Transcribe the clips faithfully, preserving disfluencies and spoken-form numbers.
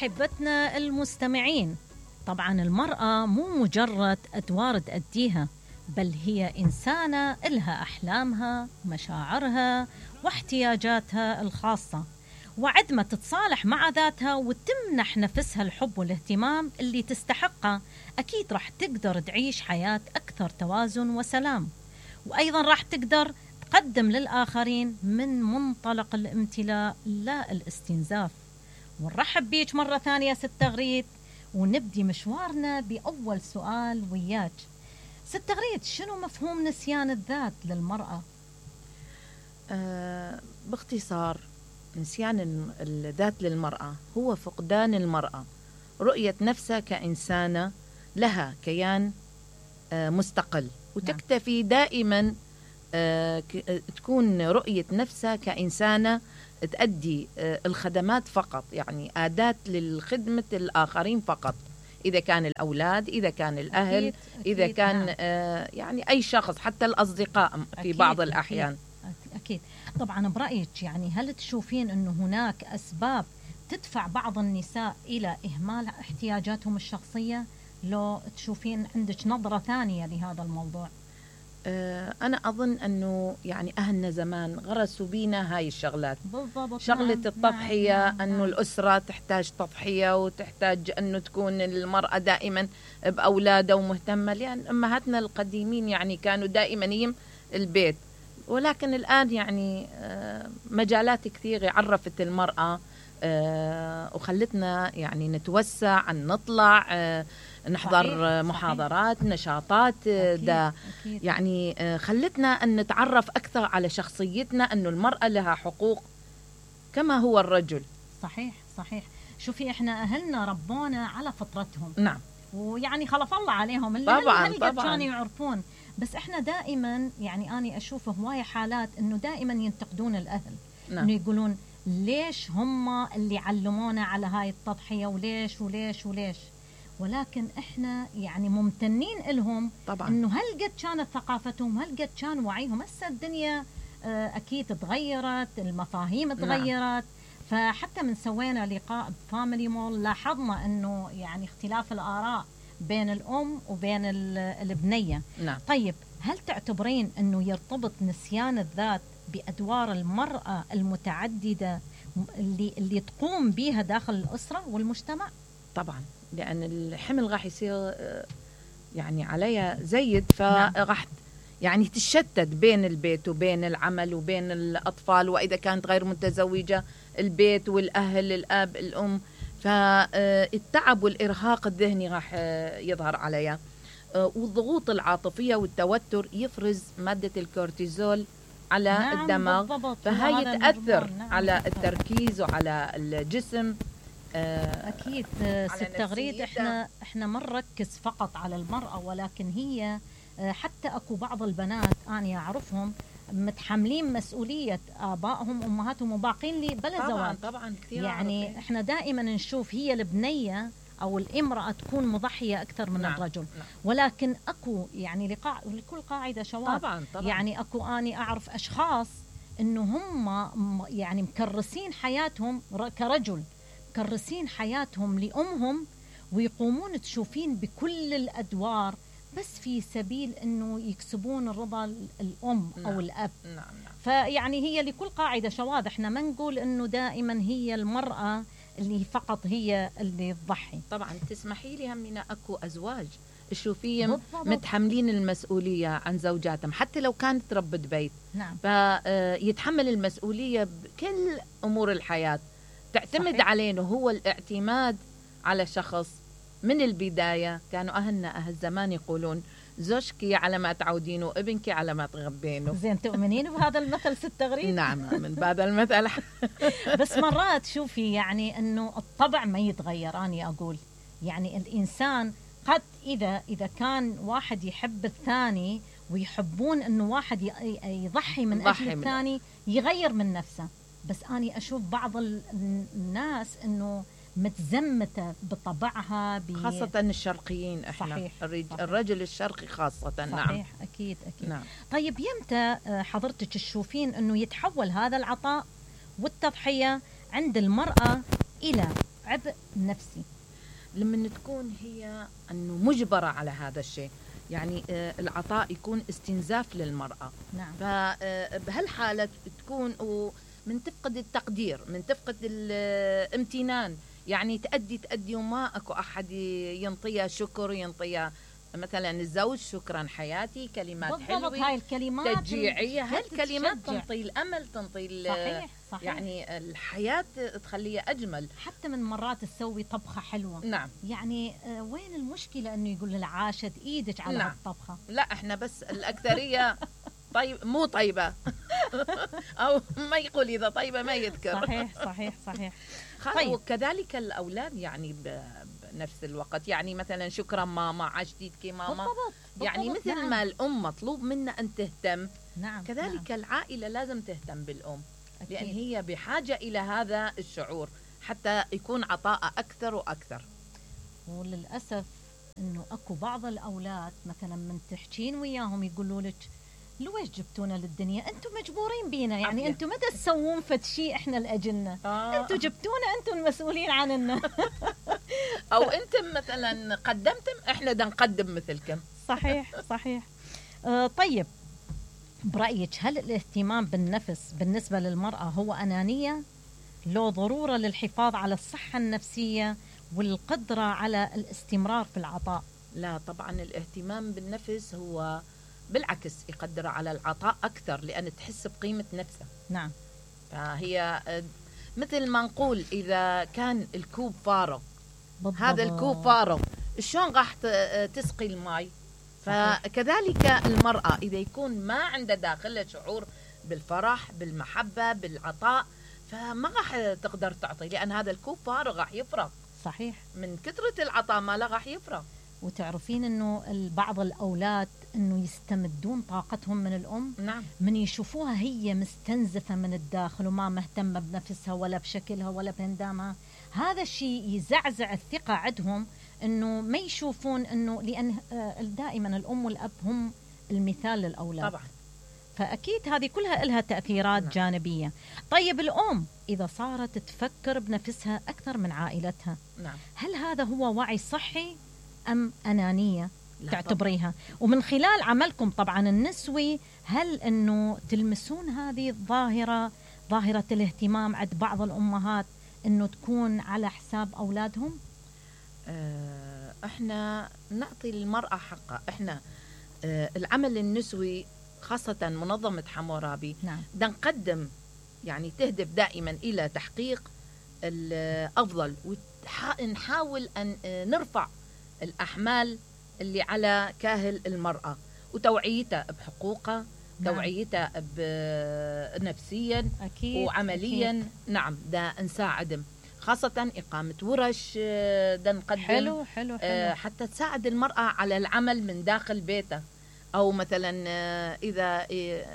أحبتنا المستمعين، طبعا المرأة مو مجرد أدوار تأديها، بل هي إنسانة إلها أحلامها، مشاعرها واحتياجاتها الخاصة، وعد ما تتصالح مع ذاتها وتمنح نفسها الحب والاهتمام اللي تستحقه، أكيد راح تقدر تعيش حياة أكثر توازن وسلام، وأيضا راح تقدر تقدم للآخرين من منطلق الامتلاء لا الاستنزاف. ونرحب بيك مرة ثانية ست غريد، ونبدي مشوارنا بأول سؤال وياك. ست غريد، شنو مفهوم نسيان الذات للمرأة؟ آه باختصار، نسيان الذات للمرأة هو فقدان المرأة رؤية نفسها كإنسانة لها كيان آه مستقل، وتكتفي دائما آه تكون رؤية نفسها كإنسانة تؤدي آه الخدمات فقط، يعني أداة للخدمة الآخرين فقط، إذا كان الأولاد، إذا كان الأهل، أكيد إذا أكيد كان نعم. آه يعني أي شخص، حتى الأصدقاء في أكيد بعض الأحيان. أكيد, أكيد. طبعا برأيك يعني هل تشوفين أنه هناك أسباب تدفع بعض النساء إلى إهمال احتياجاتهم الشخصية؟ لو تشوفين عندك نظرة ثانية لهذا الموضوع؟ آه أنا أظن أنه يعني أهلنا زمان غرسوا بينا هاي الشغلات، بالضبط. شغلة نعم. التضحية، نعم. نعم. أنه نعم. الأسرة تحتاج تضحية، وتحتاج أنه تكون المرأة دائما بأولادها ومهتمة، لأن أمهاتنا القديمين يعني كانوا دائما يم البيت. ولكن الآن يعني مجالات كثيرة عرفت المرأة وخلتنا يعني نتوسع، أن نطلع نحضر صحيح. محاضرات صحيح. نشاطات أكيد. دا أكيد. يعني خلتنا أن نتعرف أكثر على شخصيتنا، أنه المرأة لها حقوق كما هو الرجل. صحيح صحيح. شوفي إحنا أهلنا ربونا على فطرتهم، نعم، ويعني خلف الله عليهم اللي طبعا هل طبعا كانوا يعرفون، بس إحنا دائما يعني أنا أشوف هواية حالات إنه دائما ينتقدون الأهل. نعم. إنه يقولون ليش هم اللي علمونا على هاي التضحية، وليش وليش وليش، ولكن إحنا يعني ممتنين لهم طبعا، إنه هل قد كانت ثقافتهم، هل قد كان وعيهم. هسه الدنيا أكيد تغيرت، المفاهيم تغيرت. نعم. فحتى من سوينا لقاء بفاميلي مول لاحظنا انه يعني اختلاف الاراء بين الام وبين البنيه. نعم. طيب هل تعتبرين انه يرتبط نسيان الذات بادوار المراه المتعدده اللي اللي تقوم بها داخل الاسره والمجتمع؟ طبعا، لان الحمل راح يصير يعني عليها زيد، فراح يعني تشتت بين البيت وبين العمل وبين الأطفال، وإذا كانت غير متزوجة البيت والأهل، الأب الأم، فالتعب والإرهاق الذهني راح يظهر عليها، والضغوط العاطفية والتوتر يفرز مادة الكورتيزول على نعم الدماغ، بالضبط. فهي تأثر نعم على التركيز وعلى الجسم. أكيد ست غريد، إحنا إحنا ما نركز فقط على المرأة، ولكن هي حتى أكو بعض البنات أنا أعرفهم متحملين مسؤولية آبائهم وأمهاتهم وباقين لي بلا زواج. طبعا كثير يعني عارفين. إحنا دائما نشوف هي البنية أو الامرأة تكون مضحية أكثر من نعم. الرجل. نعم. ولكن أكو يعني لقاع لكل قاعدة شواذ. طبعا طبعا. يعني أكو أنا أعرف أشخاص إنه هم يعني مكرسين حياتهم كرجل، مكرسين حياتهم لأمهم، ويقومون تشوفين بكل الأدوار بس في سبيل انه يكسبون الرضا الام. نعم. او الاب. نعم نعم. فيعني هي لكل قاعده شواذ، احنا ما نقول انه دائما هي المراه اللي فقط هي اللي تضحي. طبعا تسمحي لي همنا اكو ازواج تشوفيهم متحملين المسؤوليه عن زوجاتهم، حتى لو كانت ربة بيت. نعم. فيتحمل المسؤوليه بكل امور الحياه، تعتمد صحيح. عليه هو الاعتماد على شخص. من البداية كانوا أهلنا أهل زمان يقولون زوجك على ما تعودينه وابنك على ما تغبينه. زين، تؤمنين بهذا المثل ست غريد؟ نعم، من بهذا المثل. بس مرات شوفي يعني أنه الطبع ما يتغير. أنا أقول يعني الإنسان قد إذا إذا كان واحد يحب الثاني ويحبون أنه واحد يضحي من أجل الثاني يغير من نفسه، بس أنا أشوف بعض الناس أنه متزمتة بطبعها ب... خاصة الشرقيين احنا. صحيح. الرج... صحيح. الرجل الشرقي خاصة. صحيح. نعم أكيد أكيد. نعم. طيب يمتى حضرتك تشوفين أنه يتحول هذا العطاء والتضحية عند المرأة إلى عبء نفسي. لما تكون هي أنه مجبرة على هذا الشيء، يعني العطاء يكون استنزاف للمرأة. نعم. فبهالحالة تكون من تفقد التقدير، من تفقد الامتنان، يعني تأدي تأدي وما أكو أحد ينطيها شكر، ينطيها مثلا الزوج شكرا حياتي، كلمات حلوة، هاي الكلمات تشجيعية، هاي الكلمات تنطي الأمل، تنطي صحيح صحيح. يعني الحياة تخليها أجمل. حتى من مرات تسوي طبخة حلوة. نعم. يعني آه وين المشكلة أنه يقول لها عاشت إيدك على نعم. الطبخة؟ لا إحنا بس الأكثرية طيب مو طيبة أو ما يقول إذا طيبة ما يذكر. صحيح صحيح صحيح. طيب. وكذلك الأولاد يعني بنفس الوقت، يعني مثلا شكرا ماما، عشتيتك ماما. بالضبط. يعني بالضبط. مثل نعم. ما الأم مطلوب منا أن تهتم. نعم. كذلك نعم. العائلة لازم تهتم بالأم. أكيد. لأن هي بحاجة إلى هذا الشعور حتى يكون عطاء أكثر وأكثر. وللأسف أنه أكو بعض الأولاد مثلا من تحكين وياهم يقولوا لك لويش جبتونا للدنيا؟ أنتم مجبورين بينا، يعني أنتم ما تسوون فد شيء إحنا لأجلنا. آه. أنتم جبتونا، أنتم المسؤولين عننا. أو أنتم مثلا قدمتم، إحنا دا نقدم مثلكم. صحيح صحيح. آه طيب، برأيك هل الاهتمام بالنفس بالنسبة للمرأة هو أنانية؟ لو ضرورة للحفاظ على الصحة النفسية والقدرة على الاستمرار في العطاء؟ لا طبعا، الاهتمام بالنفس هو بالعكس يقدر على العطاء أكثر، لأن تحس بقيمة نفسها. نعم. فهي مثل ما نقول إذا كان الكوب فارغ، بالضبط. هذا الكوب فارغ شلون راح تسقي الماء؟ فكذلك المرأة إذا يكون ما عنده داخلها شعور بالفرح بالمحبة بالعطاء، فما راح تقدر تعطي، لأن هذا الكوب فارغ راح يفرغ. صحيح. من كثرة العطاء ما لا راح يفرغ. وتعرفين أنه بعض الأولاد أنه يستمدون طاقتهم من الأم. نعم. من يشوفوها هي مستنزفة من الداخل وما مهتمة بنفسها ولا بشكلها ولا بهندامها، هذا الشيء يزعزع الثقة عندهم، أنه ما يشوفون أنه، لأن دائما الأم والأب هم المثال للأولاد. طبعا. فأكيد هذه كلها لها تأثيرات نعم. جانبية. طيب الأم إذا صارت تفكر بنفسها أكثر من عائلتها، نعم. هل هذا هو وعي صحي أم أنانية تعتبريها؟ طبعا. ومن خلال عملكم طبعا النسوي، هل أنه تلمسون هذه الظاهرة، ظاهرة الاهتمام عند بعض الأمهات أنه تكون على حساب أولادهم؟ اه احنا نعطي المرأة حقها. احنا اه العمل النسوي خاصة منظمة حمورابي، نعم. دا نقدم يعني تهدف دائما إلى تحقيق الأفضل، ونحاول أن نرفع الأحمال اللي على كاهل المرأة وتوعيتها بحقوقها. نعم. توعيتها نفسيا أكيد. وعمليا. أكيد. نعم، دا نساعدهم، خاصة إقامة ورش دا نقدم. حلو حلو حلو. حتى تساعد المرأة على العمل من داخل بيتها، أو مثلا إذا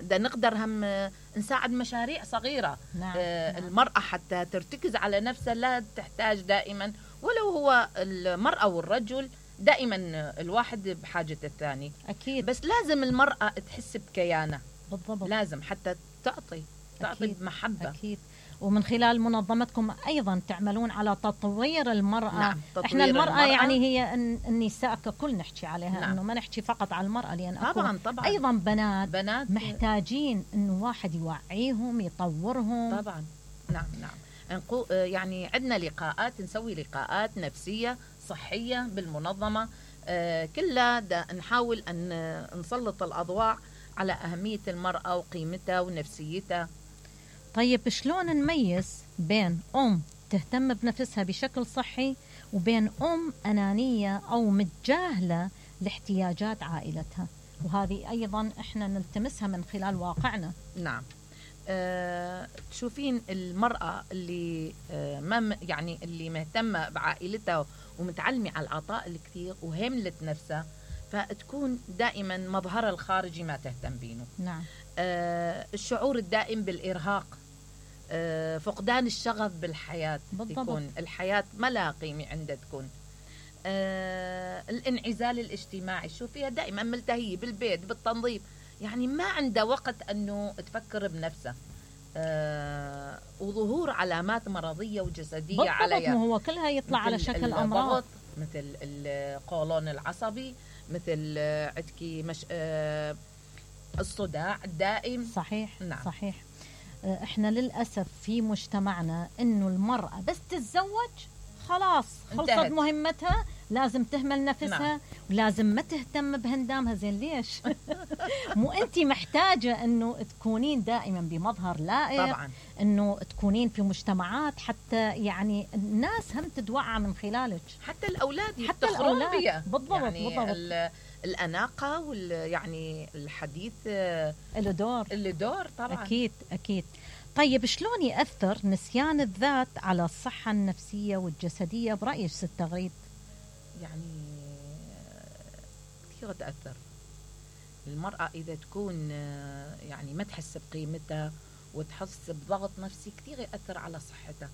دا نقدر هم نساعد مشاريع صغيرة. نعم. نعم. المرأة حتى ترتكز على نفسها، لا تحتاج دائما، ولو هو المرأة والرجل دائما الواحد بحاجة الثاني. أكيد. بس لازم المرأة تحس بكيانة. بالضبط. لازم حتى تعطي تعطي أكيد. بمحبة. أكيد. ومن خلال منظمتكم أيضا تعملون على تطوير المرأة. نعم. تطوير إحنا المرأة, المرأة يعني هي النساء ككل نحكي عليها. نعم. إنه ما نحكي فقط على المرأة، لأن طبعا طبعا أيضا بنات, بنات محتاجين إنه واحد يوعيهم يطورهم. طبعا. نعم نعم. يعني عندنا لقاءات، نسوي لقاءات نفسية صحية بالمنظمة. آه كلها دا نحاول أن نسلط الأضواء على أهمية المرأة وقيمتها ونفسيتها. طيب شلون نميز بين أم تهتم بنفسها بشكل صحي وبين أم أنانية أو متجاهلة لاحتياجات عائلتها؟ وهذه أيضا إحنا نلتمسها من خلال واقعنا. نعم. أه تشوفين المرأة اللي أه ما يعني اللي مهتمة بعائلتها ومتعلمة على العطاء الكثير وهملت نفسها، فتكون دائما مظهرها الخارجي ما تهتم بينه. نعم. أه الشعور الدائم بالإرهاق، أه فقدان الشغف بالحياة. بالضبط. يكون الحياة ما لها قيمة عندها. تكون أه الانعزال الاجتماعي، شوفيها دائما ملتهية بالبيت بالتنظيف، يعني ما عندها وقت أنه تفكر بنفسها. آه وظهور علامات مرضية وجسدية بالضبط، عليها. ما هو كلها يطلع على شكل أمراض، مثل القولون العصبي، مثل عندكي مش آه الصداع الدائم. صحيح. نعم. صحيح. احنا للأسف في مجتمعنا انه المرأة بس تتزوج خلاص خلصت انتهت. مهمتها، لازم تهمل نفسها. نعم. ولازم ما تهتم بهندامها. زين ليش؟ مو انت محتاجة انه تكونين دائما بمظهر لائق. طبعا. انه تكونين في مجتمعات حتى يعني الناس هم تتوعى من خلالك، حتى الاولاد حتى الاولاد بيها. بالضبط. يعني بالضبط. الاناقه وال يعني الحديث له دور له دور طبعا. اكيد اكيد. طيب شلون يأثر نسيان الذات على الصحة النفسية والجسدية برأيك ست تغريد؟ يعني كثير تأثر. المرأة إذا تكون يعني ما تحس بقيمتها وتحس بضغط نفسي كثير يأثر على صحتها.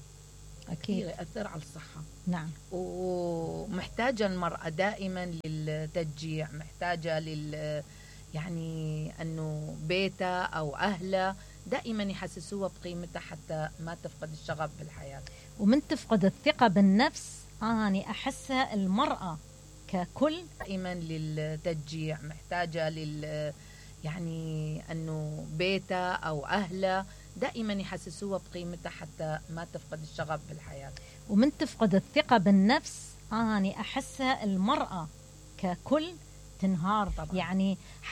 أكيد كثير يأثر على الصحة. نعم. ومحتاجة المرأة دائما للتشجيع، محتاجة لل يعني أنه بيتها أو أهلها دائما يحسسوها بقيمتها حتى ما تفقد الشغف بالحياة. ومن تفقد الثقة بالنفس أنا أحسها المرأة ككل دائما للتشجيع، محتاجة لل يعني أنه بيتها أو أهلها دائما يحسسوها بقيمتها حتى ما تفقد الشغف بالحياة. ومن تفقد الثقة بالنفس أنا أحسها المرأة ككل تنهار طبعا. يعني